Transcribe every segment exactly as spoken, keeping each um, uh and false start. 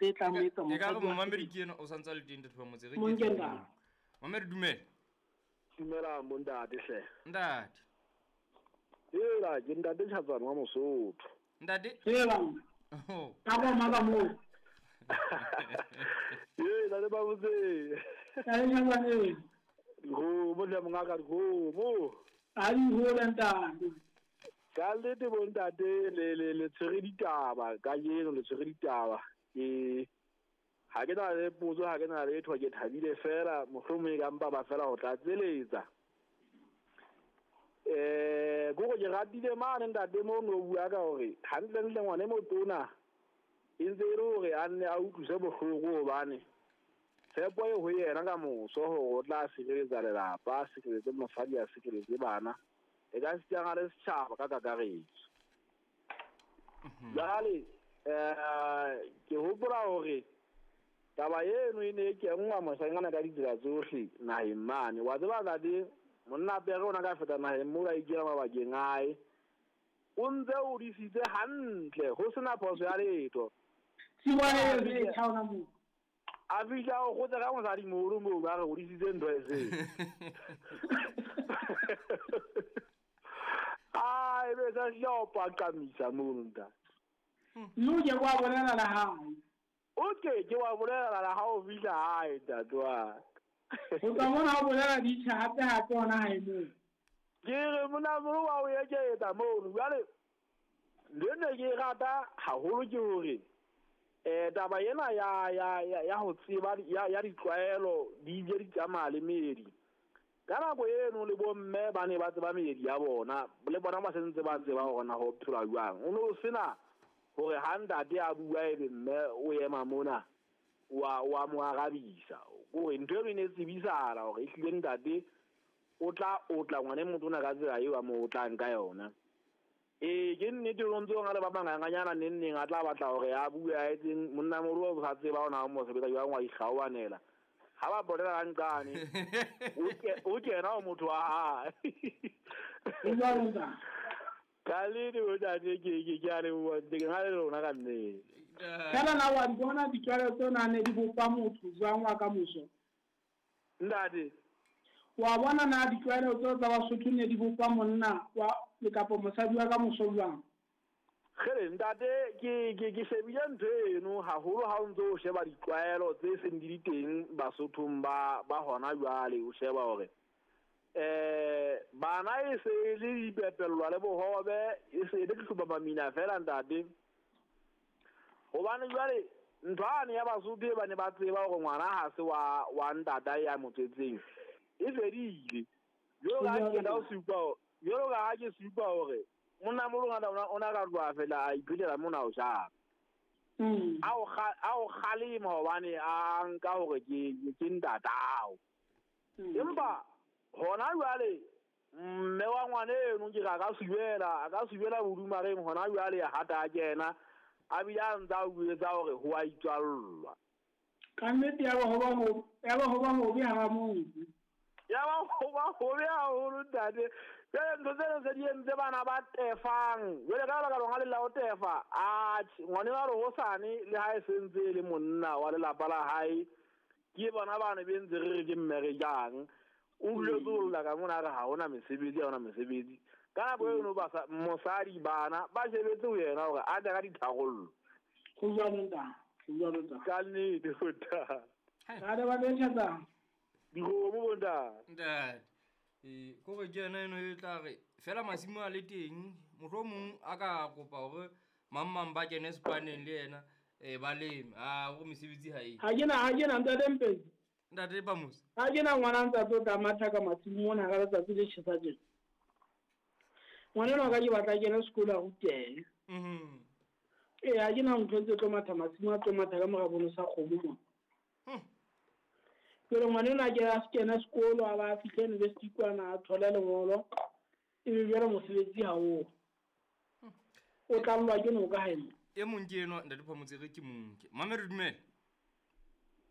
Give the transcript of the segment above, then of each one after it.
Tse tlang ho etsa E ka re mosadi wa momamedi sebele. Ke ena o santse a le teng, Ntate Phamotse, re Monke ke ntate. Momamedi, dumela. Dumela mo ntate hle. Ntate. Hela ke ntate Tjhatsane wa Mosotho. Ntate. Hela. Oh. Ka ba maka moo. Ee, ntate Phamotse. Ntate Tjhatsane. Dikgomo hle mongaka, dikgomo. A di hole ntate. Ka nnete bo ntate le le le tshwere ditaba kajeno, le tshwere ditaba. Ke ha ke na le potso, ha ke na letho, ke thabile fela, mohlomong e ka mpa ba fela ho tlatseletsa. Eh, kore ke ratile mane ntate mo no bua ka hore hantlentle ngwana e motona e ntse e le hore a nne a utlwise bohloko hobane tshepo e ho yena ka moso hore o tla sireletsa lelapa, a sireletse mosadi, a sireletse bana, e ka sitana le setjhaba ka kakaretso. Jwale eh ke hopola hore taba eno e ne e kenngwa moshanyana ka ditsela tsohle naheng mane. Wa tseba ntate, monna pere ona ka feta naheng moo a ikela mabakeng a hae, o ntse o disitse hantle ho sena phoso ya letho. A fihla o kgotsa ka mosadi moholo moo ba re o disitse ntho e seng. Ah, e be sa hlile o paqamisa mono ntate. Mme o ke wa bolela la hae. O ke ke wa bolela la ha o fihla hae ntate wa. Ho tla mona o bolela ditjha hape hape hona hae moo. Ke re mona moholo wa o eketsa mono. Jwale le ne ke rata haholo ke hore eh taba ena ya ya ya ya ho tseba ya ya ditlwaelo di ile di tsamaya le meedi. Ka nako eno le bomme ba ne ba tseba meedi ya bona, le bona ba sentse ba tseba hore na ho phelwa jwang. O no sena hore ha ntate a bua ebe mme o ema mona wa wa mo arabisa. Hore ntho eno e ne tsebisahala hore ehlile ntate o tla o tla ngwana e motona ka tsela eo a mo otlang ka yona. Ee, ke nnete o ntse o na le ba banganganyana neng neng a tla batla hore a bue a etseng monna moholo o sa tseba hore na o mo sebetsa jwang, wa ikgaoanela. Ha ba bolela ka nqane, o ke-, o kena ho motho wa hae. Ka nnete bo ntate, ke, ke, ke a leboha, ke na le lona ka nnete. Fela na wa di bona ditlwaelo tseo na ne di bopa motho jwang wa ka moso? Ntate. Wa bona na ditlwaelo tseo tsa Basotho ne di bopa monna wa le kapa mosadi wa ka moso jwang? Kgele ntate, ke, ke, ke shebile ntho eno haholo ha o ntso o sheba ditlwaelo tse seng di le teng Basothong ba, ba hona jwale, o sheba hore eh bana e se e le dipepellwa le bohobe, e se e le hloba mamina fela ntate. Hobane jwale ntho ane ya Basotho e ba ne ba tseba hore ngwana ha se wa, wa ntata ya motswetseng e fedile. Jwalo ka ha ke la o supa hore, jwalo ka ha ke supa hore monna moholo ngata ona, ona ka tloha fela a iphelela mona o jang. Mm. A o kga-, a o kgalema hobane a nka hore ke, ke ntatao. Mm. Empa hona jwale mme wa ngwana eno ke re a ka subela, a ka subela bodumareng hona jwale ha ta kena, a bile a ntse a bua hore ho a itswallwa. Ka nnete ya ba ho ba ho, ya ba ho ba hobe ha motho. Ya ba ho ba hobe haholo ntate. Jwale ntho tseno tse di entse bana ba tefang. Jwale ka lebaka lona le la ho tefa, atjhe, ngwana wa re hosane le ha e sentse e le monna wa lelapa la hae, ke bona bana be ntse re re ke mme re jang. O duletse ho lla ka mona a re ha hona mesebetsi, ha hona mesebetsi. Ka nako eno basa-, mosadi bana ba shebetse ho yena hore a tle ka ditharollo. Ho jwalo ntate, ho jwalo ntate. Ka nnete, ho ntate. Ka re ba betjha Dikgomo bo ntate. Ntate. Eh, kore ke yena eno e tla re fela masimo a le teng, mohlomong a ka kopa hore mang mang ba kene sepaneng le yena, eh, ba leme. Ah, hore mesebetsi ha e. Ha ke na, ha ke na ntate Mpetsi. Ntate Phamotse. Ha ke na ngwana ntse a tlo tla matha ka masimo mona ka letsatsi le tjhesa tjena. Ngwana enwa ka ke batla a kene sekolo a rutehe. Mhm. Ee, ha ke na ntho tse tlo matha masimo, a tlo matha ka mora bono sa kgomo mona. Hmm. Jwale ngwana enwa ke a se kene sekolo, a ba a fihle university kwana, a thole lengolo, ebe jwale mosebetsi ha o. Hmm. O tlallwa ke noka hae mo. E mong ke enwa, Ntate Phamotse, re ke monke. Mamedi, dumela.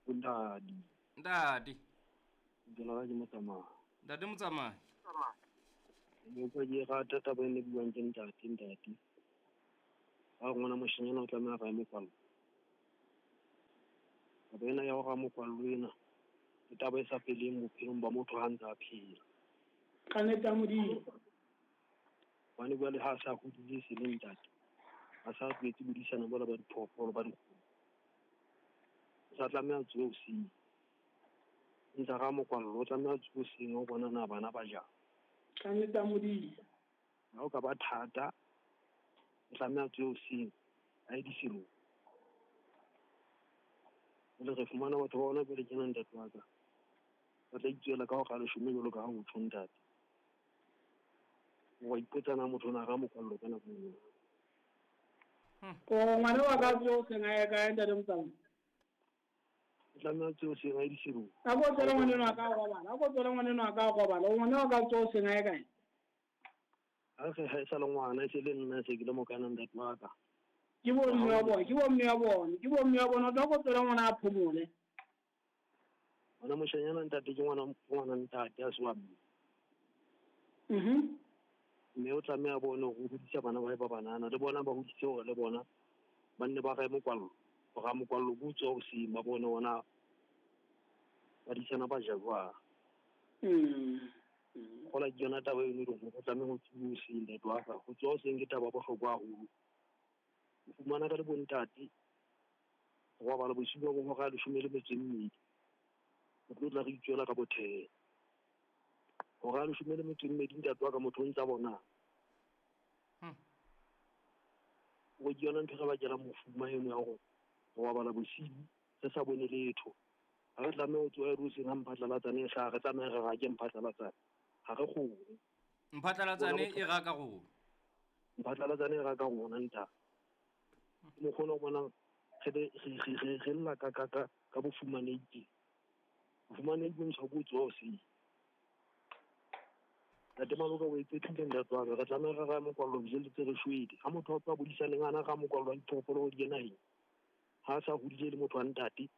Ntate. Ntate. Ke lora ke motsamai. Ntate motsamai. Ke utlwa ke rata taba e ne buang ke ntate, ntate. Ha ngwana moshanyana o tlameha a mo kwalla. Taba ena ya ho ra mokwallo ena ke taba e sa feleng bophelong ba motho ha ntse a phela. Ka nnete ya Modimo. Hobane jwale ha a sa hodile se le ntate, a sa tlwaetse bodisana bola ba diphoofolo ba dikgomo. O sa tlameha a tsohe hoseng. Ntse a ra mokwallo, o tlameha a tsohe hoseng ho bona na bana ba jang. Ka nnete ya Modimo. Ha o ka ba thata, o tlameha a tsohe hoseng a ye diselong. Jwale re fumana batho ba hona jwale tjena ntate wa ka. Ba tla itswela ka hora ya leshome jwalo ka ha ho tjho ntate. Wa ipotsa na motho o na ra mokwallo ka nako eo. O ngwana wa ka tsohe hoseng a ye kae ntate Motsamai? O tlameha a tsohe hoseng a ye diselong. A ko tswele ngwaneno wa ka a robala, a ko tswele ngwaneno wa ka a robala. O ngwana wa ka tsohe hoseng a ye kae? Ha re ha e sa le ngwana, e se le nna se ke le mokana ntate wa ka. Ke bo mme wa bona, ke bo mme wa bona, ke bo mme wa bona. O tla ko tswele ngwana a phomole. Ngwana moshanyana ntate ke ngwana, ngwana ntate a se wa mme. Mhm. Mme o tlameha a bone hore o hodisa bana ba hae ba banana, le bona ba hodise hore le bona ba nne ba rahe mokwallo. Ho raha mokwallo ke ho tsoha hoseng ba bone hore na badisana ba ja jwang. Mm. Kgola ke yona taba eno e leng hore o tlameha ho tsoha hoseng ntate wa ka. Ho tsoha hoseng ke taba ya bohlokwa haholo. O fumana ka le bontate ho robala bosiu ba bo hora ya leshome le metso e mmedi. Re tlo tla re itswela ka bothele. Hora ya leshome le metso e mmedi ntate wa ka motho o ntsa bona. O ke yona ntho e re bakelang mofuma eno ya hore ho robala bosiu re sa bone letho. Ha re tlameha ho tsoha hoseng ha mphatlalatsane e hlaha, re tlameha re rake mphatlalatsane. Ha re kgone. Mphatlalatsane e raka rona. Mphatlalatsane e raka rona ntate. Ke mokgwa ona o bonang re le re re re re lla ka ka ka ka bofumanehi teng. Bofumanehi bo ntshwa ke ho tsoha hoseng. Ntate Maloka o etsetse ntate wa ka, re tlameha re rahe mokwallo re jelletse re shwele. Ha motho a tloha bodisaneng ana ra mokwallo wa diphoofolo hore di ye naheng. Ha a sa hodile le motho wa ntate,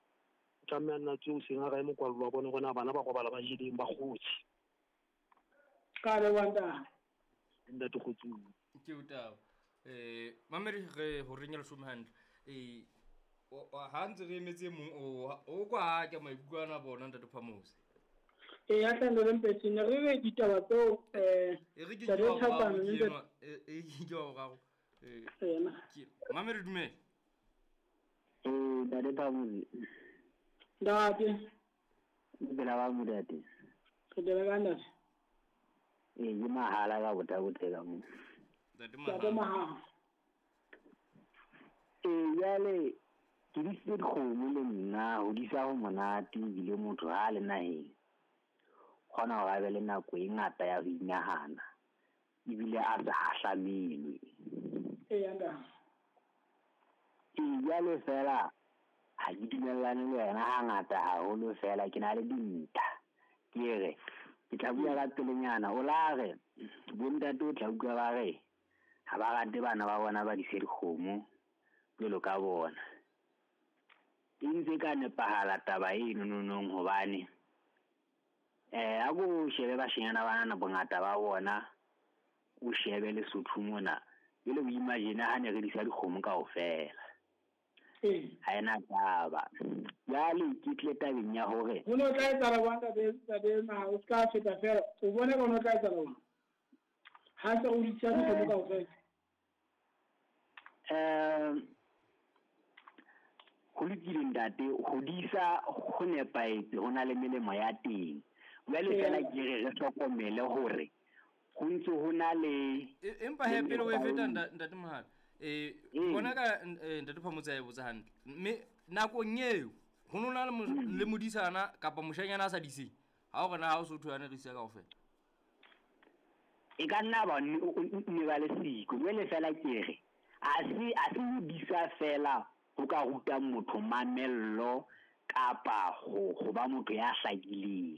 o tlameha a nna tsohe hoseng a rahe mokwallo wa bone hore na bana ba robala ba jeleng ba kgotse. Ka leboha ntate. Ntate kgotsong. Ke o taba. Eh mamedi re ho reng ya leshome hantle. Eh ha ntse re emetse mong o o kwa ke maikutlo ana bona ntate Phamose. E ya tla le mpetseng re re ditaba tseo eh e re ke ke wa boraro e ke wa boraro eh mamedi dumela. Eh ntate Phamose. Ntate. Dumela ba modate. Re dira ka ntate. Eh ke mahala ka botabotela mo. Ntate Mahala. Eh jwale ke disitse dikgomo le nna ho disa ho monate ebile motho ha le naheng kgona hore a be le nako e ngata ya ho inahana ebile a sa hahlamelwe. Ee ntate. Ee jwale fela ha ke dumellane le wena hangata haholo fela ke na le dintlha. Ke re ke tla bua ka pelenyana o la re bontate o tla utlwa ba re ha ba rate bana ba bona ba dise dikgomo jwalo ka bona. E ntse ka nepahala taba eno nonong hobane eh a ko shebe bashenyana bana bongata ba bona o shebe Lesotho mona jwale o imagine ha ne re disa dikgomo kaofela. Ee. Ha ena taba. Jwale ke tle tabeng ya hore ho no tla etsahala jwang ntate ntate ma o ska feta fela o bone ka ho no tla etsahala jwang ha se o disa dikgomo kaofela. Eh ho lokile ntate, ho disa ho nepahetse, ho na le melemo ya teng. Jwale fela ke re re hlokomele hore ho ntse ho na le empa he pele o e feta ntate Mohala. Eh bona ka ntate Phamotse a e botsa hantle. Mme nakong eo ho no na le modisana kapa moshanyana a sa diseng. Ha o re na ha o so thwe ana re disa kaofela. E ka nna ba ne ba le siko. Jwale fela ke re a se a se ho disa fela ho ka ruta motho mamello kapa ho ho ba motho ya hlakileng.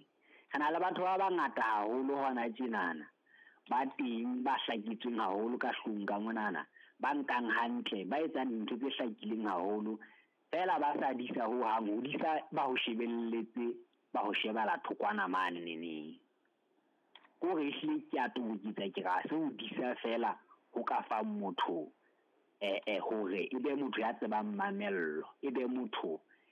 Re na le batho ba bangata haholo hona tjenana ba teng ba hlaketsweng haholo ka hlong ka monana, ba nkang hantle, ba etsang dintho tse hlakileng haholo fela ba sa disa ho hang, ho disa ba ho shebelletse, ba ho shebala thokwana mane neneng. Kore ehlile ke a toboketsa ke re ha se ho disa fela ho ka fang motho eh eh hore e be motho ya tsebang mamello, e be motho